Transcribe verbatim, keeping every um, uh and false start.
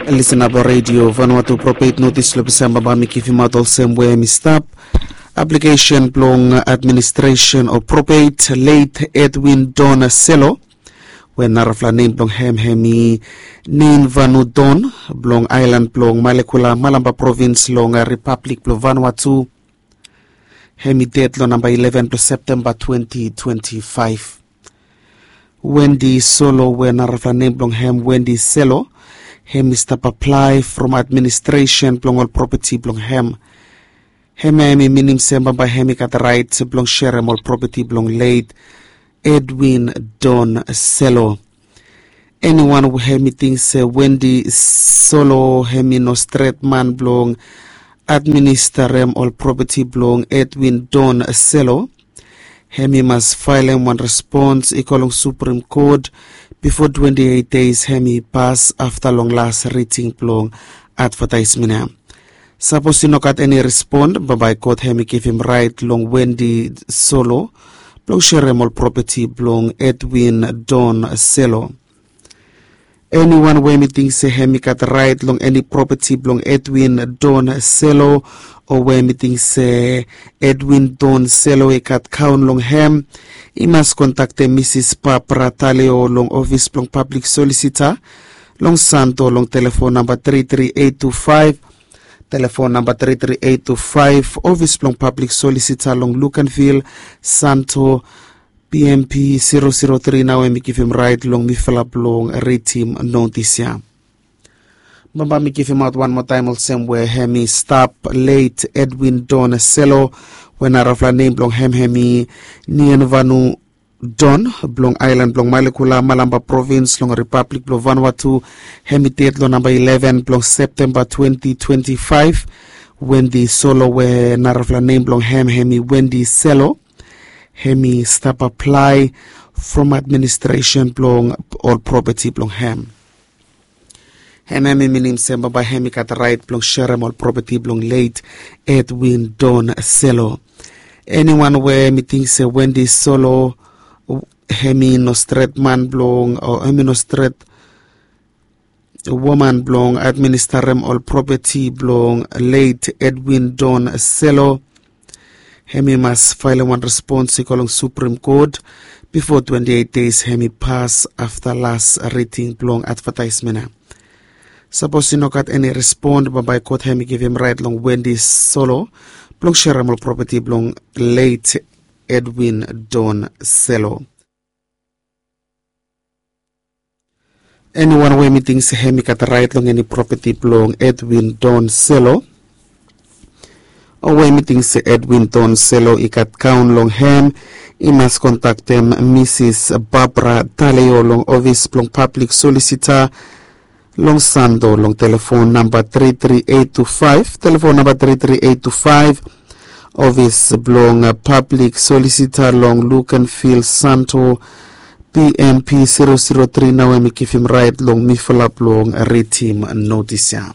Lisin ap long redio Vanuatu. Propet notis long Disemba bae mi givimaot olsem we mi stap. Aplikesen blong administresen o propet leit Edwin Don Selo, we narafala nem blong hem hem i Nin Vanu Don, blong aelan blong Malekula, Malamba provins long Ripablik blong Vanuatu. Hem i ded long namba ileven blong Septemba twenti twenti faef. Wendi Solo, we narafala nem blong hem Wendi Selo, hem i stap aplae from administresen blong ol propeti blong hem. Hemia hem i minim se bambae hem i gat raet blong serem ol propeti blong leit Edwin Don Selo. Eniwan we hem i ting se Wendi Solo hem i no stret man blong administarem ol propeti blong Edwin Don Selo, hem i mas faelem wan respons i go long Suprem Kot bifo twenti eit deis hem i pas afta long las riting blong advataesmen ya. Sapos i no gat eni respon, bambae kot hem i givim raet long Wendi Solo blong serem ol propeti blong Edwin Don Selo. Eniwan we hem i ting se hem i gat raet long eni propeti blong Edwin Don Selo, o we hem i ting se Edwin Don Selo i gat kaon long hem, i mas kontaktem Misis Barbara Taleo long ofis blong pablik solisita long Santo long telefon namba tri tri eit tu faef, telefon namba tri tri eit tu faef, ofis blong pablik solisita long Luganville, Santo, P M P zero zero tri nao hem i givim raet long mifala blong ritim notis ya. Bambae mi givimaot wan moa taem olsem we hem i stap, leit Edwin Don Selo, we narafala nem blong hem hem i Nianvanu Don, blong aelan blong Malekula, Malamba provins long Ripablik blong Vanuatu. Hem i ded long namba ileven blong Septemba twenti twenti faef. Wendi Solo, we narafala nem blong hem hem i Wendi Selo, hem i stap aplae from administresen blong ol propeti blong hem. Hem hem i minim se bambae hem i gat raet blong serem ol propeti blong leit Edwin Don Selo. Eniwan we hem i ting se Wendi Solo hem i no stret man blong, o hem i no stret woman blong administarem ol propeti blong leit Edwin Don Selo, hem i mas faelem wan respons i go long Suprem Kot bifo twenti eit deis hem i pas afta las riting blong advataesmen ya. Sapos i no gat eni respon, bambae kot hem i givim raet long Wendi Solo blong serem ol propeti blong leit Edwin Don Selo. Eniwan we hem i ting se hem i gat raet long eni propeti blong Edwin Don Selo, o we hem i ting se Edwin Don Selo i gat kaon long hem, i mas kontaktem Misis Barbara Taleo long ofis blong pablik solisita long Santo long telefon namba tri tri eit tu faef, telefon namba tri tri eit tu faef, ofis blong pablik solisita long Luganville, Santo, P M P zero zero tri nao hem i givim raet long mifala blong ritim notis ya.